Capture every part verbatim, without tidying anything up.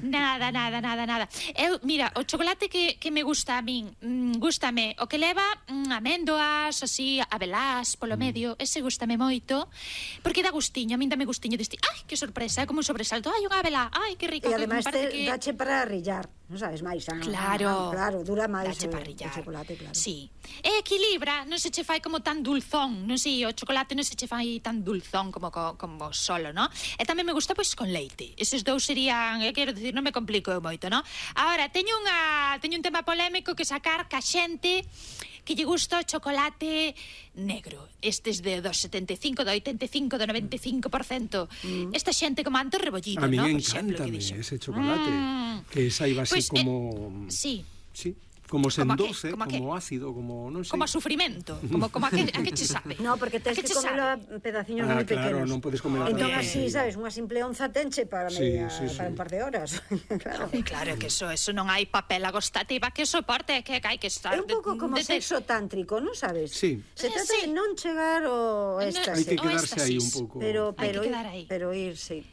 Nada, nada, nada, nada. Eu, mira, o chocolate que, que me gusta a min, mm, gústame o que leva mm, améndoas, así, abelás, polo medio, ese gústame moito, porque dá gustiño, a min dame gustiño deste, ai, que sorpresa, é como un sobresalto, ai, unha abelá, ai, que rico. E ademais te que... dache para rillar, non sabes, máis. Ah, claro, ah, claro, dura máis dache o, para rillar. O chocolate, claro. Sí. E equilibra, non se che fai como tan dulzón, non sei, o chocolate non se che fai tan dulzón como, como solo, non? E tamén me gusta, pois, con leite. Eses dous serían, eu quero dicir, non me complico moito, non? Ahora, teño unha teño un tema polémico que sacar ca xente que lle gusta o chocolate negro. Estes de do setenta e cinco, do oitenta e cinco, do noventa e cinco por cento. Mm. Esta xente como Anto Rebollido, ¿no? A mí ¿no? encántame ese chocolate, mm. que saiba así pues, como... Eh, sí. Sí. Como sendoce, como, como, como ácido, como non sei. Como a sufrimento, como, como a, que, a que che sabe. No, porque tens que comelo a pedaciños ah, moi claro, pequenos. Non podes comer a entón así, sabes, unha simple onza tenche para media, sí, sí, para sí. un par de horas. Claro. Ay, claro, que eso, eso non hai papel agostativa que soporte, que hai que estar... É un pouco como de, de... sexo tántrico, non sabes? Sí. Se trata sí. de non chegar ao éxtasis. Hai que quedarse aí un pouco. Pero, pero, ir, pero ir, sí.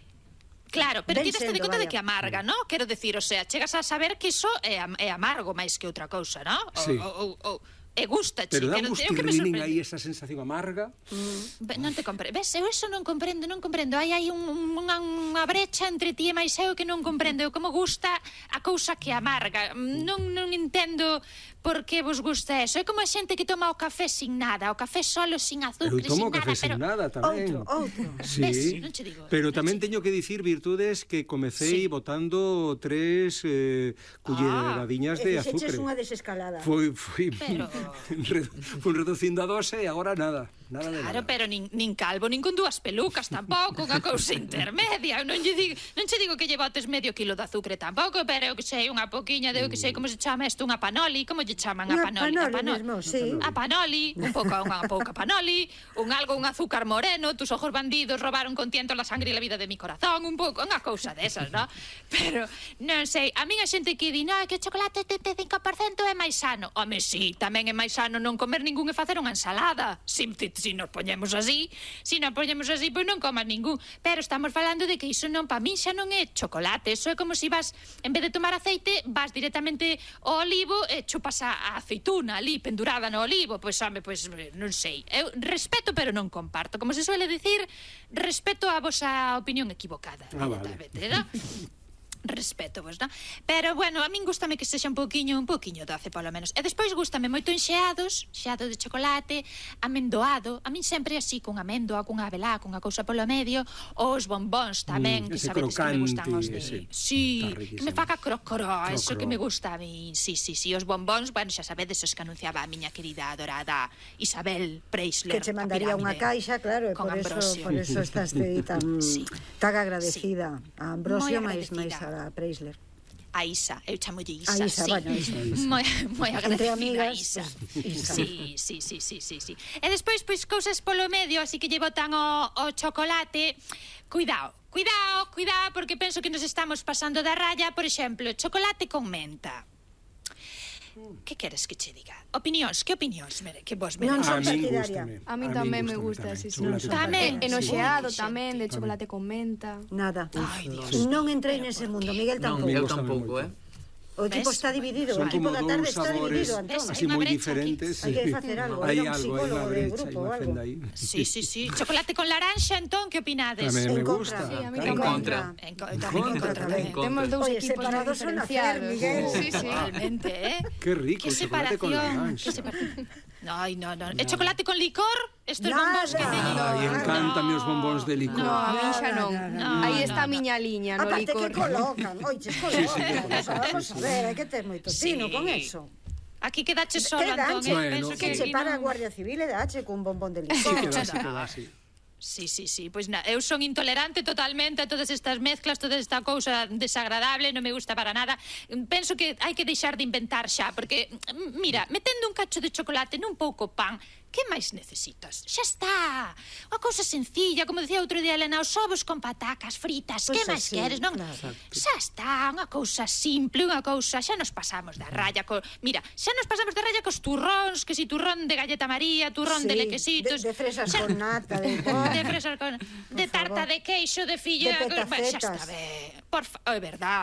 Claro, pero ti te de conta de que amarga, ¿no? Quero decir, o sea, chegas a saber que iso é, é amargo máis que outra cousa, ¿no? Sí. O, o, o, e gusta, pero dá un gustirrinín aí esa sensación amarga. Mm. Non te comprendo. Ves, eu eso non comprendo, non comprendo. Hai aí un, unha, unha brecha entre ti e máis eu que non comprendo. Eu como gusta a cousa que amarga. Non, non entendo por que vos gusta eso. É como a xente que toma o café sin nada, o café solo, sin azúcar, sin nada. Eu tomo café pero... sin nada tamén. Outro, outro. Sí, ves, non che digo. Pero tamén teño que dicir, Virtudes, que comecei sí. botando tres eh, culleradiñas ah, de azúcar. E unha desescalada. Foi, foi... Pero... Fui reducindo a dose e agora nada. Nada de claro, nada. pero nin, nin calvo, nin con dúas pelucas tampouco, unha cousa intermedia. Non lle digo, non che digo que lle botes medio kilo de azúcar tampouco, pero eu que sei, unha poquiña de eu que sei como se chama isto, unha panoli, como lle chaman a panoli? Panoli, a panoli mesmo, sí. A panoli, un pouco, unha pouca panoli, un algo, un azúcar moreno, tus ojos bandidos robaron con tiento la sangre e la vida de mi corazón, un pouco, unha cousa desas, ¿no? Pero, non sei, a min a xente que di, no, que o chocolate setenta e cinco por cento é máis sano. Home, sí, tamén é máis sano non comer ningún e facer unha ensalada. Si, si nos poñemos así, si nos poñemos así, pois non comas ningún. Pero estamos falando de que iso non, pa min xa non é chocolate. Iso é como se vas, en vez de tomar aceite, vas directamente ao olivo e chupas a, a aceituna ali, pendurada no olivo. Pois, home, pois, non sei. Eu respeto, pero non comparto. Como se suele dicir, respeto a vosa opinión equivocada. Ah, vale. ¿No? Respeto vos, non? Pero, bueno, a min gustame que sexa un pouquiño, un pouquiño doce, polo menos. E despois gustame moito enxeados, xeado de chocolate, amendoado, a min sempre así, con amendoa, con abelá, con a cousa polo medio, os bombóns tamén, mm, que sabedes que me gustan os de... Ese. Sí, que me faca crocoró, eso que me gusta a min. Sí, sí, sí, os bombóns, bueno, xa sabedes os que anunciaba a miña querida adorada Isabel Preisler. Que che mandaría unha caixa, claro, e por eso, por eso estás tan, sí. tan agradecida sí. a Ambrosio máis máis a Preisler. A Isa, eu chamolle Isa, a Isa, sí. bueno, Isa. Moi, moi agradecida amigas, a Isa. Pues, Isa. Sí, sí, sí, sí, sí, sí. E despois, pois, cousas polo medio, así que lle botan o, o chocolate. Cuidado, cuidado, cuidado, porque penso que nos estamos pasando da raya. Por exemplo, chocolate con menta. Que queres que che diga? Opinións, que opinións mere, que vos mere? Non son a min partidaria. gústame. A min tamén me gusta, sí, sí. Tamén. Enoxeado tamén, de chocolate con menta. Nada. Ai, Dios. Non entrei nese mundo, Miguel Non, tampouco. Miguel tampouco, eh? O tipo está dividido, Son o tipo como da tarde dous está sabores dividido, Antón. así moi diferentes. Hai que facer algo, hai ir a un algo, hai psicólogo unha de brecha, grupo hai ou unha algo. fenda aí. Sí, sí, sí. Chocolate con laranxa, entón, que opinades? Tamén me En gusta. contra. Sí, a mí En tamén. contra. En, co tamén en contra tamén. Temos dous Oye, equipos moi separados son a fer, diferenciados. Miguel. Sí, sí. Realmente, eh? Qué rico, Que chocolate con separación. laranxa. Que separación. Ay, no, no. ¿El chocolate con licor? Estos bombóns que teñen. Ai, encántame os bombóns de licor. No, a min xa non. No, Aí está a no, miña liña, no Aparte licor. que colocan, oiches, colocan. Vamos a ver, hai que ter moito tino Sí. con eso. Aquí quedache solo, Que Antón. danche, eh, Bueno, penso que que che aquí para a non- Guardia Civil e dache cun bombón de Sí, licor. que va, sí, que va, sí. Sí, sí, sí, pois na, eu son intolerante totalmente a todas estas mezclas, toda esta cousa desagradable, non me gusta para nada. Penso que hai que deixar de inventar xa, porque, mira, metendo un cacho de chocolate nun pouco pan, que máis necesitas? Xa está. Unha cousa sencilla, como decía outro día Elena, os ovos con patacas fritas, Pois que máis así, queres, non? claro. Xa está, unha cousa simple, unha cousa, xa nos pasamos da raya co... Mira, xa nos pasamos da raya cos turróns, que si turrón de galleta María, turrón Sí, de lequesitos... de, de fresas xa... con nata, de de fresas con... de tarta favor. de queixo, de filla... De Bueno, xa petacetas. está ben. Por fa... É verdad.